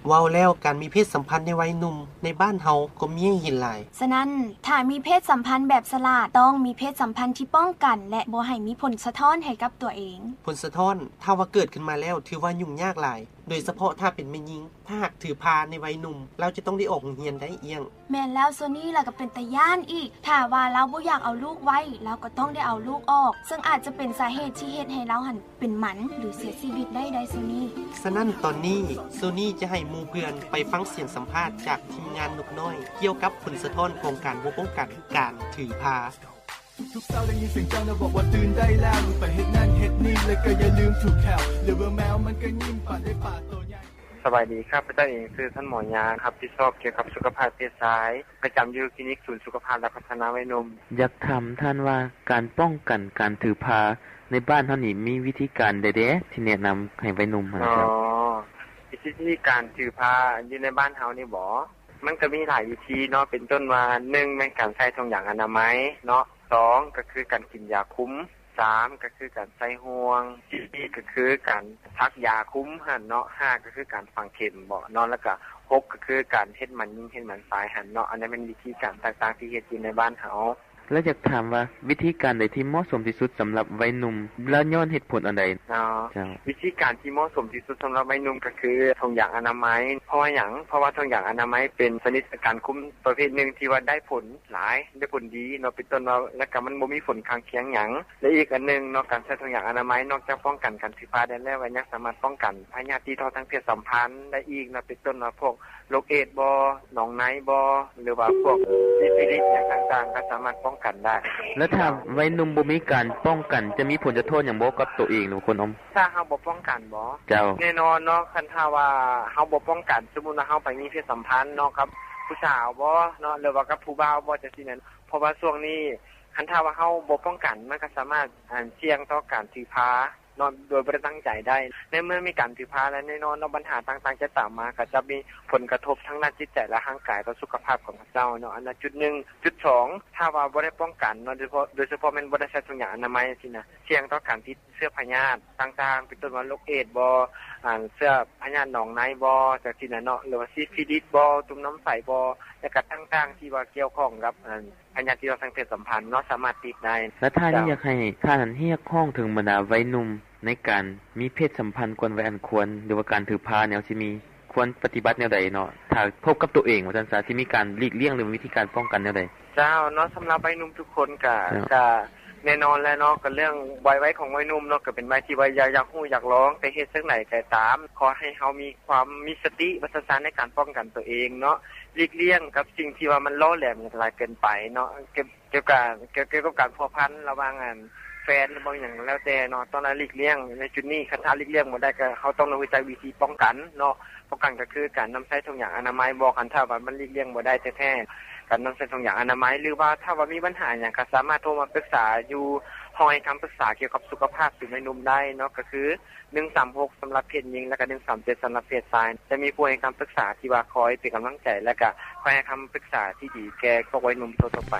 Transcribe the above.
ເວົ້າແລ້ວ ການມີເພດສຳພັນໃນໄວໜຸ່ມໃນບ້ານເຮົາກໍມີໃຫ້ເຫັນຫຼາຍ. ສະນັ້ນ, ຖ້າມີເພດສຳພັນແບບສະຫຼາດ, ຕ້ອງມີເພດສຳພັນທີ່ປ້ອງກັນ ແລະ ບໍ່ໃຫ້ມີຜົນສະທ້ອນໃຫ້ກັບຕົວເອງ. ຜົນສະທ້ອນ, ຖ້າວ່າເກີດຂຶ້ນມາແລ້ວ ຖືວ່າຫຍຸ້ງຍາກຫຼາຍ, ໂດຍສະເພາະຖ້າເປັນແມ່ຍິງ. ຖ້າຫາກຖືພາໃນໄວໜຸ່ມ, ລາວຈະຕ້ອງໄດ້ອອກໂຮງຮຽນໄດ້. ແລ້ວໂຊນີ້ລະກໍເປັນຕາຢ້ານອີກ. ຖ້າວ່າລາວບໍ່ຢາກເອົາລູກໄວ້, ລາວກໍຕ້ອງໄດ້ເອົາລູກອອກ, ເຊິ່ງອາດຈະເປັນສາເຫດທີ່ເຮັດໃຫ້ລາວຫັ້ນເປັນໝັນ ຫຼື ເສຍຊີວິດໄດ້ໄດ໋ໂຊນີ້. ສະນັ້ນຕອນນີ້ ໂຊນີ້ຈະໃຫ້ໝູ່ເພື່ອນໄປຟັງສຽງສຳພາດຈາກທີມງານນົກນ້ອຍ ກ່ຽວກັບຜົນສະທ້ອນຂອງການບໍ່ປ້ອງກັນການຖືພາ. ທຸກໆເຊົ້າໄດ້ຍິນສຽງເຈົ້ານະບອກວ່າຕື່ນໄດ້ແລ້ວ ໄປເຮັດນັ້ນເຮັດນີ້ ແລ້ວກໍຢ່າລືມຖູແຂ້ວ ຫຼືວ່າແມວມັນກໍຍິ້ມ ປານໄດ້ປາໂຕໃຫຍ່. ສະບາຍດີ, ຂ້າພະເຈົ້າເອງຊື່ທ່ານໝໍຍາງ, ຮັບຜິດຊອບກ່ຽວກັບສຸຂະພາບເພດຊາຍ, ປະຈຳຢູ່ຄລີນິກສູນສຸຂະພາບ ແລະ ພັດທະນາໄວໜຸ່ມ. ຢາກຖາມທ່ານວ່າ ການປ້ອງກັນການຖືພາໃນບ້ານເຮົານີ້ ມີວິທີການໃດແດ່ທີ່ແນະນຳໃຫ້ໄວໜຸ່ມຫັ້ນ? ອໍ ວິທີການຖືພາຢູ່ໃນບ້ານເຮົານີ້ບໍ? ມັນກໍມີຫຼາຍວິທີເນາະ, ເປັນຕົ້ນວ່າ ໜຶ່ງ ແມ່ນການໃສ່ຖົງຢາງອະນາໄມເນາະ, ສອງ ກໍຄືການກິນຢາຄຸມ, ສາມ ກໍຄືການໃສ່ຫ່ວງ, ສີ່ ກໍຄືການສັກຢາຄຸມຫັ້ນເນາະ, ຫ້າ ກໍຄືການຝັງເຂັມເນາະ, ແລ້ວກໍ ຫົກ ກໍຄືການເຮັດໝັນຍິງເຮັດໝັນຊາຍຫັ້ນເນາະ. ອັນນັ້ນແມ່ນວິທີການຕ່າງໆທີ່ເຮັດຢູ່ໃນບ້ານເຮົາ. ແລ້ວຢາກຖາມວ່າ ວິທີການໃດທີ່ເໝາະສົມທີ່ສຸດສຳລັບໄວໜຸ່ມ ແລ້ວຍ້ອນເຫດຜົນອັນໃດ? ເຈົ້າ. ວິທີການທີ່ເໝາະສົມທີ່ສຸດສຳລັບໄວໜຸ່ມກໍຄືຖົງຢາງອະນາໄມ. ເພາະວ່າຫຍັງ? ເພາະວ່າຖົງຢາງອະນາໄມເປັນຊະນິດການຄຸມປະເພດໜຶ່ງທີ່ວ່າໄດ້ຜົນຫຼາຍ, ໄດ້ຜົນດີເນາະ, ເປັນຕົ້ນວ່າ ແລ້ວກໍມັນບໍ່ມີຜົນຂ້າງຄຽງຫຍັງ. ແລະ ອີກອັນໜຶ່ງເນາະ, ການໃສ່ຖົງຢາງອະນາໄມນອກຈາກປ້ອງກັນການຖືພາໄດ້ແລ້ວ ກໍຍັງສາມາດປ້ອງກັນພະຍາດຕິດຕໍ່ທາງເພດສຳພັນໄດ້ອີກເນາະ, ເປັນຕົ້ນວ່າພວກ ໂລກເອດສ໌ບໍ ໜອງໃນບໍ ຫຼືວ່າພວກຊີຟິລິດຫຍັງຕ່າງໆ ກໍສາມາດປ້ອງກັນໄດ້. ແລ້ວຖ້າໄວໜຸ່ມບໍ່ມີການປ້ອງກັນ ຈະມີຜົນສະທ້ອນຫຍັງບໍ່ກັບຕົວເອງ ຫຼືວ່າຄົນອື່ນ? ຖ້າເຮົາບໍ່ປ້ອງກັນບໍ? ເຈົ້າ. ແນ່ນອນເນາະ, ຄັນຖ້າວ່າເຮົາບໍ່ປ້ອງກັນ, ສົມມຸດວ່າເຮົາໄປມີເພດສຳພັນເນາະ ກັບຜູ້ສາວບໍເນາະ ຫຼືວ່າກັບຜູ້ບ່າວບໍ ຈັ່ງຊີ້ນັ້ນ, ເພາະວ່າຊ່ວງນີ້ ຄັນຖ້າວ່າເຮົາບໍ່ປ້ອງກັນ ມັນກໍສາມາດ ອັນ ສ່ຽງຕໍ່ການຖືພາ ເນາະ ໂດຍບໍ່ໄດ້ຕັ້ງໃຈໄດ້. ໃນເມື່ອມີການຖືພາແລ້ວ ແນ່ນອນເນາະ ບັນຫາຕ່າງໆຈະຕາມມາ, ກໍຈະມີຜົນກະທົບທາງດ້ານຈິດໃຈ ແລະ ຮ່າງກາຍຕໍ່ສຸຂະພາບຂອງເຂົາເຈົ້າເນາະ, ອັນນັ້ນຈຸດໜຶ່ງ. ຈຸດສອງ ຖ້າວ່າບໍ່ໄດ້ປ້ອງກັນເນາະ, ໂດຍສະເພາະ ໂດຍສະເພາະແມ່ນບໍ່ໄດ້ໃສ່ຖົງຢາງອະນາໄມຊີ້ນະ, ສ່ຽງຕໍ່ການຕິດເຊື້ອພະຍາດຕ່າງໆ ເປັນຕົ້ນວ່າໂລກເອດສ໌ບໍ ອາ ເຊື້ອພະຍາດໜອງໃນບໍ ຈັ່ງຊີ້ນະເນາະ, ຫຼືວ່າຊີຟິລິດບໍ ຕຸ່ມນ້ຳໃສບໍ ແລະ ກະຕ່າງໆທີ່ວ່າກ່ຽວຂ້ອງກັບ ອັນ ພະຍາດຕິດຕໍ່ທາງເພດສຳພັນເນາະ ສາມາດຕິດໄດ້. ແລ້ວທ່ານນີ້ ເຈົ້າ ຢາກໃຫ້ທ່ານຮຽກຮ້ອງເຖິງບັນດາໄວໜຸ່ມໃນການມີເພດສຳພັນກ່ອນໄວອັນຄວນ ຫຼືວ່າການຖືພາແນວຊິມີ ຄວນປະຕິບັດແນວໃດເນາະ ຖ້າພົບກັບຕົວເອງວ່າຊັ້ນຊະ ຊິມີການຫຼີກລ່ຽງ ຫຼື ມີວິທີການປ້ອງກັນແນວໃດ? ເຈົ້າເນາະ, ສຳລັບໄວໜຸ່ມທຸກຄົນກະ ເຈົ້າ ກະແນ່ນອນແຫຼະເນາະ, ກະເລື່ອງໄວໆຂອງໄວໜຸ່ມເນາະ ກະເປັນໄວທີ່ວ່າຢາກ ຢາກຮູ້ຢາກລອງ, ແຕ່ເຮັດຈັ່ງໃດກໍຕາມ ຂໍໃຫ້ເຮົາມີ ຄວາມມີສະຕິ ປະສາທະນໃນການປ້ອງກັນຕົວເອງເນາະ, ຫຼີກລ່ຽງກັບສິ່ງທີ່ວ່າມັນຫຼໍ່ແຫຼມຫຼາຍເກີນໄປເນາະ, ກ່ຽວ ກ່ຽວກັບ ກ່ຽວ ກ່ຽວກັບການພົວພັນລະຫວ່າງ ອັນ ແຟນ ຫຼື ບໍ່ຫຍັງແລ້ວແຕ່ເນາະ, ຕ້ອງໄດ້ຫຼີກລ່ຽງໃນຈຸດນີ້. ຄັນຖ້າຫຼີກລ່ຽງບໍ່ໄດ້ ກໍເຮົາຕ້ອງໄດ້ຮູ້ຈັກວິທີປ້ອງກັນເນາະ, ປ້ອງກັນກໍຄືການນຳໃຊ້ຖົງຢາງອະນາໄມບໍ, ຄັນຖ້າວ່າມັນຫຼີກລ່ຽງບໍ່ໄດ້ແທ້ໆ ການນຳໃຊ້ຖົງຢາງອະນາໄມ ຫຼືວ່າຖ້າວ່າມີບັນຫາຫຍັງ ກໍສາມາດໂທມາປຶກສາຢູ່ຫ້ອງໃຫ້ຄຳປຶກສາກ່ຽວກັບສຸຂະພາບສູນໄວໜຸ່ມໄດ້ເນາະ, ກໍຄື ໜຶ່ງສາມຫົກ ສຳລັບເພດຍິງ ແລະ ກະ ໜຶ່ງສາມເຈັດ ສຳລັບເພດຊາຍ. ຈະມີຜູ້ໃຫ້ຄຳປຶກສາທີ່ວ່າຄອຍເປັນກຳລັງໃຈ ແລະ ກະຄອຍໃຫ້ຄຳປຶກສາທີ່ດີແກ່ພວກໄວໜຸ່ມທົ່ວໆໄປ.